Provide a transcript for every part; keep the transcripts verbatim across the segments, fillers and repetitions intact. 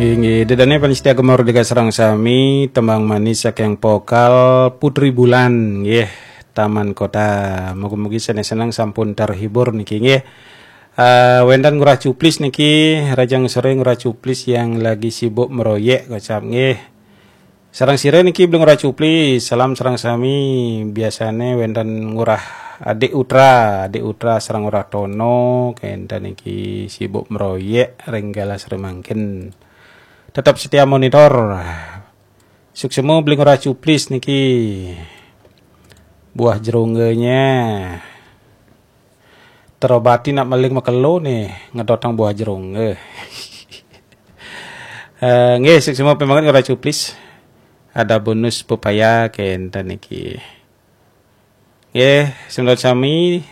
Inggih, dedane panitia Gema Merdeka sareng sami, tembang manis saking vokal Putri Bulan, nggih, Taman Kota. Mugi-mugi sanes seneng sampun terhibur niki, nggih. Eh, wenten Ngurah Cuplis niki, rahajeng sore Ngurah Cuplis yang lagi sibuk meroyek kocap, nggih. Sareng sira niki Beli Ngurah Cuplis, salam sareng sami. Biasane wenten Ngurah Adik Utra, Adik Utra sareng Ngurah Tono, kenten niki sibuk meroyek ring galah sore mangkin. Tetap setia monitor. Suksma Beli Ngurah Cuplis niki. Buah jerungganya terobati nak meling makelo nih, ngedotang buah jerungge. Eh, nggih, suksma pembanget Ngurah Cuplis. Ada bonus pepaya kenten niki. Nggih, semeton sami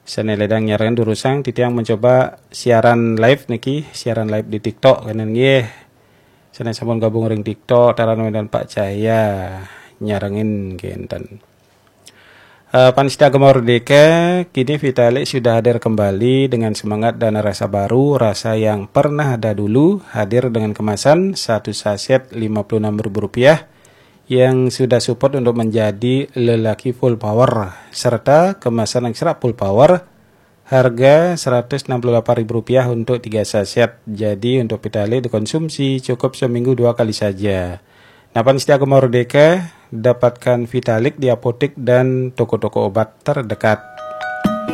sane ledang nyarengin durusang titiang mencoba siaran live niki, siaran live di TikTok kenten nggih. Sane sampun gabung ring TikTok, taran wenten Pak Cahya nyarengin kenten. Eh, Panitia Gema Merdeka, kini Vitalik sudah hadir kembali dengan semangat dan rasa baru, rasa yang pernah ada dulu, hadir dengan kemasan satu saset lima puluh enam ribu rupiah yang sudah support untuk menjadi lelaki full power, serta kemasan ekstra full power, harga seratus enam puluh delapan ribu rupiah untuk tiga saset. Jadi untuk Vitalik dikonsumsi cukup seminggu dua kali saja. Nah, Panitia Gema Merdeka, dapatkan Vitalik di apotek dan toko-toko obat terdekat.